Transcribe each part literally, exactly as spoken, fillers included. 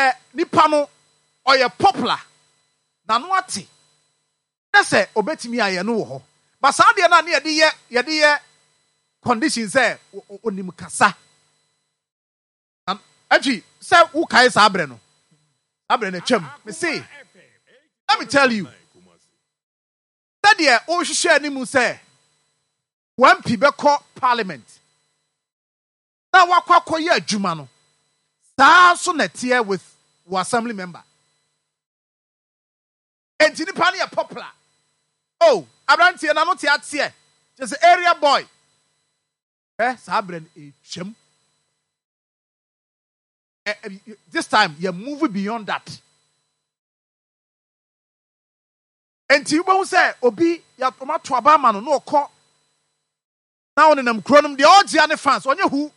Sɛ nipa no ɔyɛ popular na no ate na sɛ obetumi ayɛ no wɔ hɔ, but saa deɛ no a ne yɛde yɛ yɛde yɛ condition sɛ onim kasa akyi sɛ wokae saa berɛ no, saa berɛ no atwam. Me se, let me tell you, sɛdeɛ wohwehwɛ anim sɛ M P bɛkɔ parliament na wakɔ akɔyɛ adwuma no, saa nso na ɛteɛ with wɔ assembly member. Enti nipa no yɛ popular oh, aberanteɛ na no te ateɛ kyɛ sɛ area boy ɛ, saa berɛ no ɛtwam. This time yɛ move beyond that. Enti wobɛhu sɛ obi yɛato aba ama no na ɔkɔ na ɔnenam kuro nom deɛ, ɔgyea ne fans, ɔnyɛ hu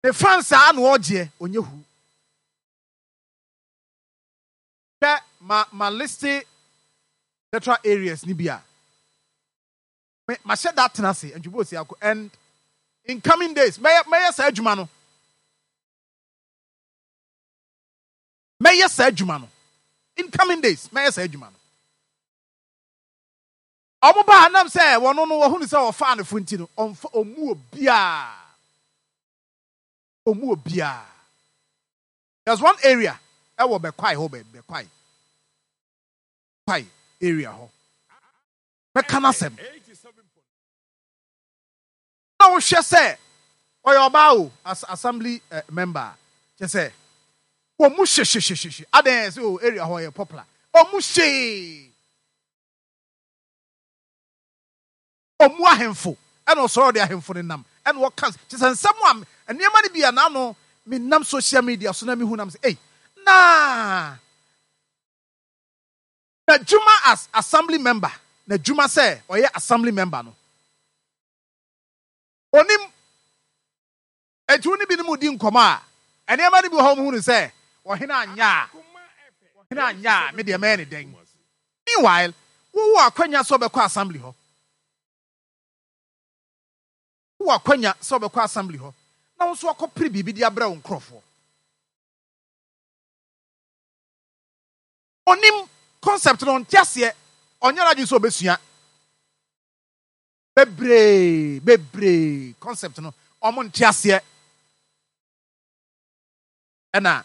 ne fans a na ɔgyeɛ, ɔnyɛ hu. Hwɛ, ma ma list electoral areas ni bi a me mahyɛ da tena ase ntwibo osi akɔ, and in coming days mɛyɛ mɛyɛ saa adwuma no, mɛyɛ saa adwuma no in coming days, mɛyɛ saa adwuma no. Ɔmo baa nam sɛ wɔn no wɔhunu sɛ wɔfaa ne fo nti no, ɔmfa ɔmu obiara, ɔmu obiara. There's one area ɛwɔ Bɛkwae hɔ, bɛ Bɛkwae Kwae area hɔ, mɛka n'asɛm na wohwɛ sɛ ɔyɛ ɔbaa o, as assembly uh, member kyɛ sɛ wɔn mu hyehyehyehyehye adan sɛ o area hɔ yɛ popular, ɔmu hyee ɔmu ahemfo, ɛna ɔsɔrɔ de ahemfo ne nam ɛna ɔka kyɛ sɛ nsɛm a nneɛma no bi a n'ano mi nam social media so na mi hu nam sɛ ɛy naa n'adwuma as assembly member, n'adwuma sɛ ɔyɛ assembly member no, onim etu ne binom di nkɔmɔ a, nneɛma no bi wɔ hɔ, ɔmo hu no sɛ ɔhene anya a, ɔhene anya a, me deɛ mɛyɛ ne dɛn? Meanwhile, wowɔ akwanya sɛ ɔbɛkɔ assembly hɔ, wowɔ akwanya sɛ ɔbɛkɔ assembly hɔ na wo nso akɔpere biribi de abrɛ wo nkurɔfoɔ. Onim concept no, ɔnte aseɛ, ɔnyɛ n'adwene sɛ ɔbɛsua. Bebree bebree concept no, ɔmo nte aseɛ, ɛna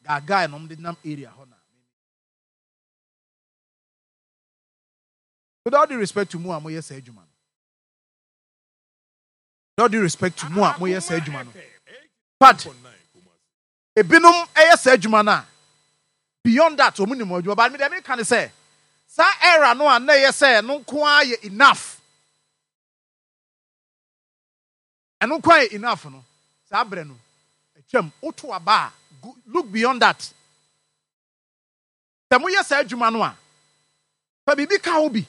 gaagae na ɔmo de nam area hɔ. Na with all due respect to mu a moyɛ saa adwuma no, with all due respect to mu a moyɛ saa adwuma no, but ebinom ɛyɛ saa adwuma no a, beyond that wɔn nim adwuma. But mi deɛ mi ka ne sɛ saa era no a na ɛyɛ sɛ no nko ara yɛ enough, ɛno nko ara yɛ enough no, saa abirɛ no atwam. Woto aba a, look beyond that. Sɛ moyɛ saa adwuma no a, fa biribi ka ho bi.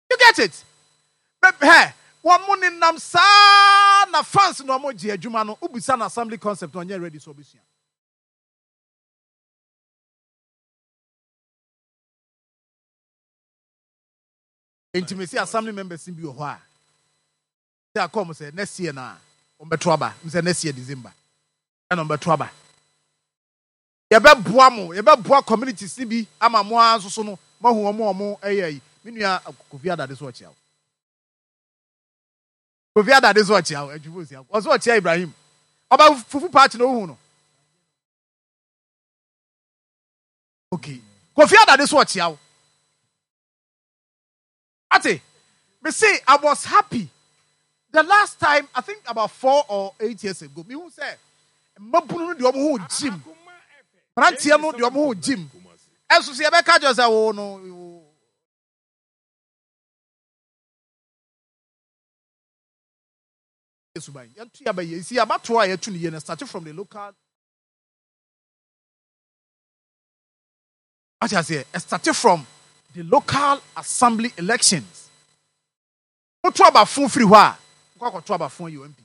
You get it? Hɛ, wɔn mo nenam saa na fans na wɔn gye adwuma no. Ubisa na assembly concept na ɔnyɛ ready sɛ ɔbɛsua. Nti mesi assembly members bi wɔ hɔ a sɛ akɔ mo sɛ next year na wɔn bɛto aba m sɛ next year December ɛna wɔn bɛto aba. Yɛbɛboa mo, yɛbɛboa communities ni bi ama mo ara nso so no mo ahu wɔn a wɔn ɛyɛ yi. Me nua Kofi Adade so ɔkyea wo. Kofi Adade so ɔkyea wo, adwuma osi akɔ ɔso ɔkyea Ibrahim ɔba fufu paakye na ohun no. Okay, Kofi Adade so ɔkyea wo. Ate me say I was happy the last time, I think about four or eight years ago, mi hu sɛ mmabunu no deɛ, ɔmo ho gym, mmeranteɛ no deɛ, ɔmo ho gym. Ɛnso so yɛbɛka kyerɛ sɛ wo no wo suban yɛnto yɛ abɛyɛ si abatoɔ a yɛto no yie no start from the local. Ate aseɛ? Start from the local assembly elections. Woto abafo firi hɔ a, nkɔ akɔto abafo yi M P.